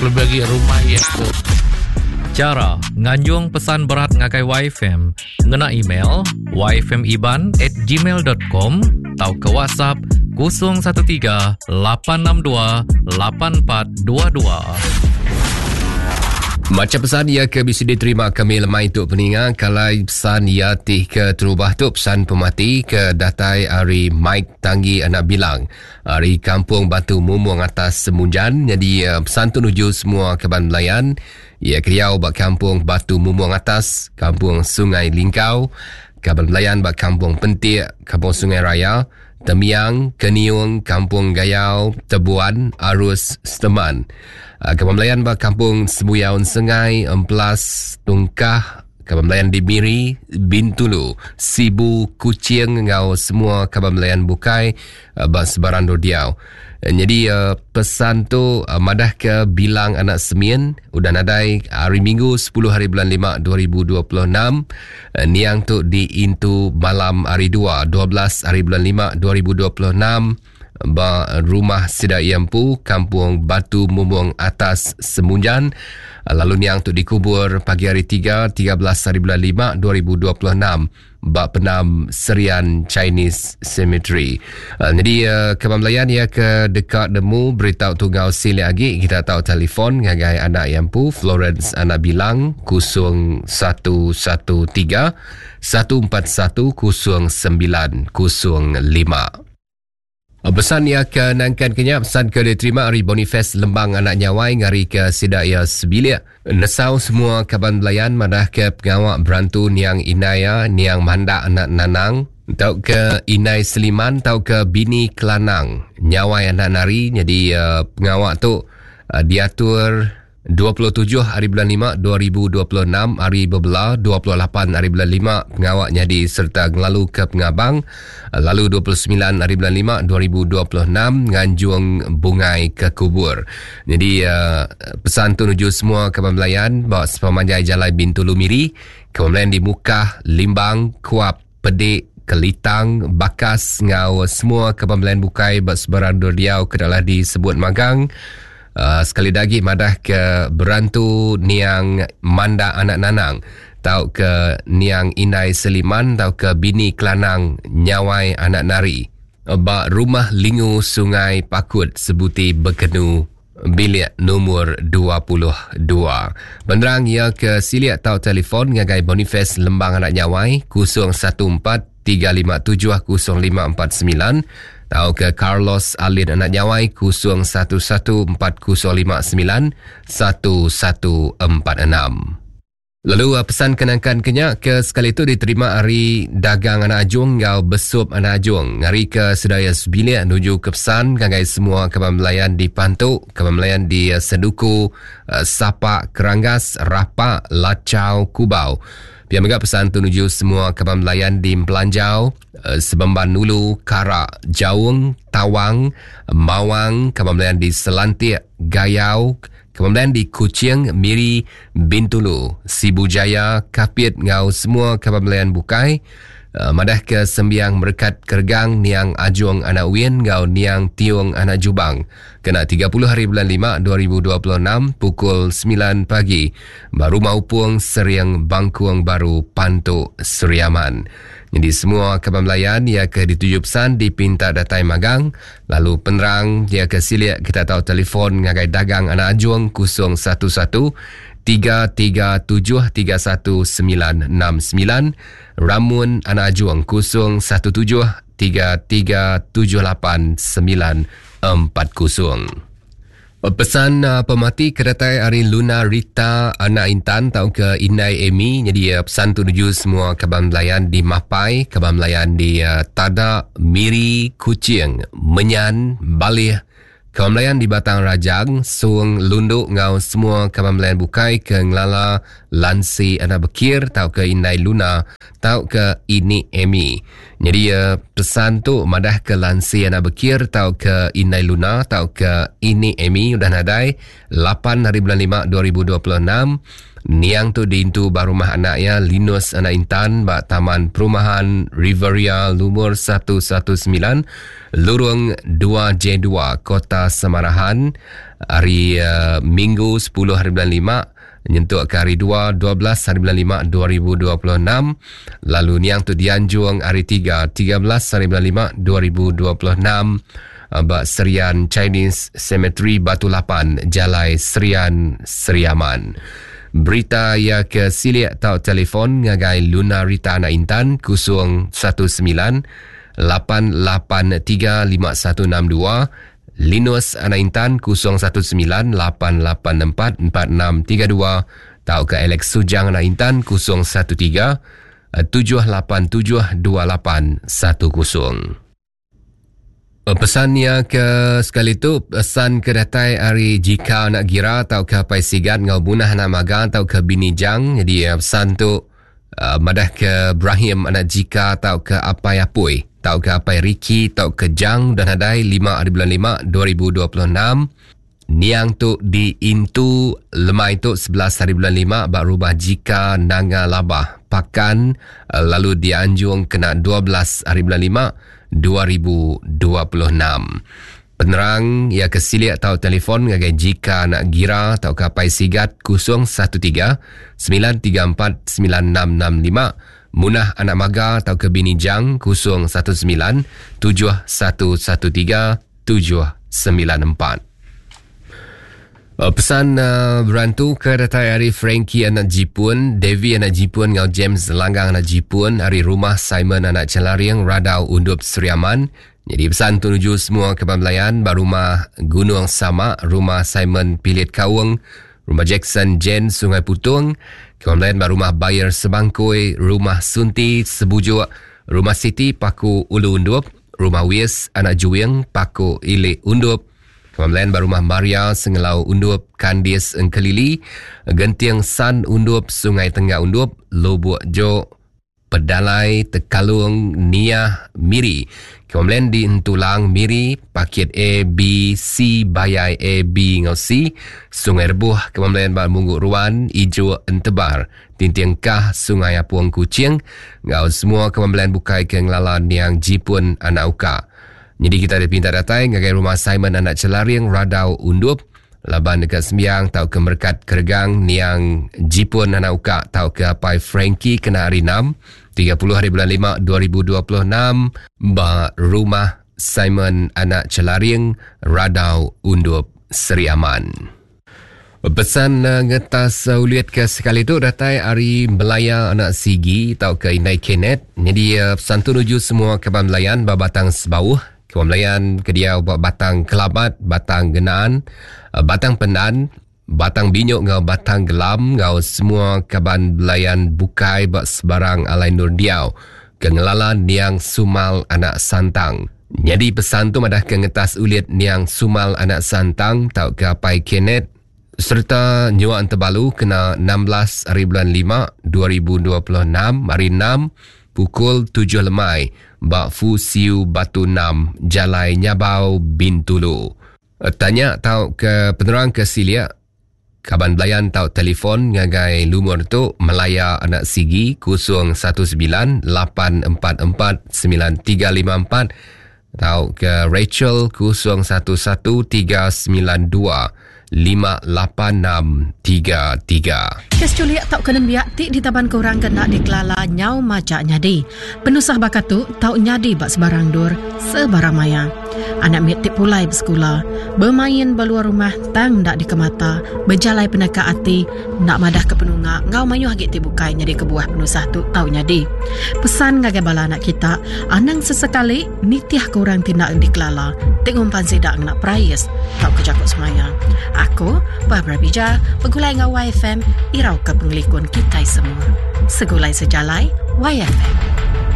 Kelebih agi rumah iya tu. Chara nganjung pesan berat ngagai YFM ngena email yfmiban at gmail dot com tauka WhatsApp 013 862 8422. Macha pesan iya ke bisi diterima kami lemai tu peninga kalai pesan iya ti ke terubah tu pesan pemati ke datai ari Mike Tanggi Anak Bilang ari Kampung Batu Mumung Atas Semunjan nyadi eh, pesan tu nuju semua kaban belayan iya ke diau ba Kampung Batu Mumung Atas, Kampung Sungai Lingkau, kaban belayan ba Kampung Pentik, Kampung Sungai Raya, Temiang, Keniung, Kampung Gayau, Tebuan, Arus, Seteman. Ah, Kaban Belayan ba Kampung Sebuyau Sengai, Empelas, Tungkah, Kaban Belayan di Miri, Bintulu, Sibu, Kuching enggau semua kaban belayan bukai ah, ba sebarang endur diau. Eh, Nyadi eh, pesan tu eh, madah ke bilang anak Semin udah nadai hari Minggu 10 hari bulan 5 2026 eh, niang tu diintu malam hari 2 12 hari bulan 5 2026 ba rumah sida iya empu Kampung Batu Mumung Atas Semunjan lalu niang tu dikubur pagi hari 3 13 hari bulan 5 2026 ba penam Serian Chinese Cemetery. Uh, jadi uh, kaban belayan ia ke deka nemu berita tu ngau silik agi kita tahu telefon ngagai anak yang empu Florence anak bilang 0113 141 0905. Pesan iya ke nangkan ke nya pesan ke diterima ari Boniface Lembang anak Nyawai ngari ke sida iya sebilik. Nesau semua kaban belayan madah ke pengawa berantu niang indai iya niang Mandak anak Nanang tauka indai Seliman tauka bini Kelanang Nyawai anak Nari nyadi pengawa tu diatur 27 hari bulan lima 2026 hari bebela 28 hari bulan lima pengawa nyadi sereta ngelalu ke pengabang lalu 29 hari bulan lima 2026 nganjung bungai ke kubur. Jadi uh, pesan tu nuju semua kaban belayan ba sepemanjai jalai Bintulu Miri, kaban belayan di Mukah, Limbang, Kuap, Pedik, Kelitang, Bakas enggau semua kaban belayan bukai ba sebarang endur diau ke dalah disebut magang. Uh, sekali da agi madah ke berantu niang Manda anak Nanang tauka niang Indai Seliman tauka bini Kelanang Nyawai anak Nari ba Rumah Lingu Sungai Pakut Sebuti Bekenu bilik lumur 22. Penerang iya ke silik tau telefon ngagai Boniface Lembang Anak Nyawai 014 357 0549 tauka Carlos Alin Anak Nyawai 011 4059 1146. Lalu uh, pesan kenangkan ke nya ke sekali tu diterima ari dagang anak ajung enggau besup anak ajung ngari ke sedaya sebilik nuju ke pesan ngagai semua kaban belayan di Pantu, kaban belayan di uh, Seduku, uh, Sapak, Keranggas, Rapak, Lachau, Kubau. Pia mega pesan tu nuju semua kaban belayan di Empelanjau, Sebemban Nulu, Karak, Jaung, Tawang, Mawang, kaban belayan di Selantik, Gayau, Kemudian di Kuching, Miri, Bintulu, Sibu Jaya, Kapit enggau semua kaban belayan bukai eh, madah ke sembiang merekat keregang Niang Ajung Anak Win enggau Niang Tiong Anak Jubang kena 30 hari bulan 5 2026 pukul 9 pagi ba Rumah Upung Sering Bangkung Baru Pantu Seriaman. Jadi semua kaban belayan ia ke dituju pesan dipinta datai magang Lalu penerang iya ke silik kita tau telefon ngagai Dagang Anak Ajung 011 337 31969, Ramun Anak Ajung 017 3378 940. Pesan uh, pemati ke datai ari Luna Rita anak Intan tauka Indai Amy nyadi uh, pesan tu nuju semua kaban belayan di Mapai, kaban belayan di uh, Tada, Miri, Kuching, Menyan, Balih, kaban belayan di Batang Rajang, Sung, Lundu enggau semua kaban belayan bukai ke ngelala Lansi anak Bekir tauka Indai Luna tauka Ini Amy. Nyadi iya pesan tu madah ke Lansi anak Bekir tauka Indai Luna tauka Ini Amy udah nadai 8 hari bulan 5 2026. Niang tu diintu ba rumah anak iya Linus anak Intan ba Taman Perumahan Riveria lumur 119 Lurung 2J2 Kota Samarahan. Hari uh, Minggu 10 hari bulan 5 nyentuk ke hari 2 12 hari bulan 5 2026 lalu niang tu dianjung hari 3 13 hari bulan 5 2026 ba Serian Chinese Cemetery Batu Lapan Jalai Serian Seriaman. Berita iya ke silik tau telefon ngagai Luna Rita Anak Intan 019 883 5162 Linus Anak Intan 019 884 4632 tauka Alex Sujang Anak Intan 013 787 2810. Pesan iya ke sekali tu pesan ke datai ari jika anak gira tauka apai sigat enggau bunah anak maga tauka bini jang jadi pesan tu madah ke Brahim anak jika tauka apai apui tauka apai Ricky tauka Jang udah nadai 5 hari bulan 5 2026 Niang tu diintu lemai tu 11 hari bulan 5 ba rumah Jika Nanga Labah, Pakan lalu dianjung kena 12 hari bulan 5 2026. Penerang iya ke silik tau telefon ngagai Jika anak Gira tauka Apai Sigat 013 934 9665, Munah anak Maga tauka Bini Jang 019 7113 794. Eh, pesan uh, berantu ke datai ari Frankie anak Jipun, Devi anak Jipun ngau James Langgang anak Jipun ari rumah Simon anak Celaring Radau Undup Seriaman. Jadi pesan tuju semua ke pembelayan ba rumah Gunung Sama, rumah Simon Pilit Kaung, rumah Jackson Jen Sungai Putung, ke pembelayan ba rumah Bayer Sebangkui, rumah Sunti Sebujuk, rumah Siti Paku Ulu Undup, Rumah Wis, Anak Juing, Paku Ilik Undup, Kemamlayan ba Rumah Maria, Sengelau Undup, Kandis Engkelili, Genting San Undup, Sungai Tengah Undup, Lubuk Jok, Pedalai, Tekalung, Niah, Miri. Kemamlayan di Entulang, Miri, Pakit A, B, C, Bayai A, B enggau C, Sungai Rebuh, Kemamlayan ba Munggu Ruan, Ijuk, Entebar. Tinting Kah, Sungai Apung Kuching enggau semua kemambelian bukai ke ngelala niang Jipun anak Uka. Nyadi kita dipinta datai ngagai rumah Simon anak Chelaring Radau Undup laban deka sembiang tauka merekat keregang niang Jipun anak Uka tauka apai Frankie kena hari 6 30 hari bulan 5 2026 ba rumah Simon anak Chelaring Radau Undup Seri Aman. Pesan eh, ngetas eh, ulit ke sekali tu datai ari Melaya anak Sigi tauka Indai Kenneth. Jadi eh, pesan tu nuju semua kaban Melayan ba Batang Sebauh, kaban Melayan ke diau ba Batang Kelabat, Batang Genaan, Batang Pendan, Batang Binyuk enggau Batang Gelam enggau semua kaban Belayan bukai ba sebarang alai endur diau ke ngelala niang Sumal anak Santang. Nyadi pesan tu madahka ngetas ulit niang Sumal anak Santang tauka apai Kenneth sereta nyua entebalu kena 16 hari bulan 5 2026 hari 6 pukul 7 lemai ba Fu Siu Batu 6 Jalai Nyabau Bintulu. Tanya tauka penerang ke silik Kaban belayan tau telefon ngagai lumur tu Melaya Anak Sigi 019 844 9354 tauka Rachel 011 392 58633. Kes chulik tauka nembiak ti ditabanka orang ke enda dikelala nyau majak nyadi. Penusah baka tu tau nyadi ba sebarang endur, sebarang maya. Anak mit ti pulai besekula, bemain ba luar rumah tang enda dikemata, bejalai peneka ati, enda madahka penunga enggau mayuh agi ti bukai nyadi kebuah penusah tu tau nyadi. Pesan ngagai bala anak kita, anang sesekali nitihka orang ti enda dikelala ti ngumpan sida ngena perais tauka jaku semaya. Aku, Barbara Bija, begulai enggau YFM irauka pengelikun kitai semua. Segulai sejalai, YFM.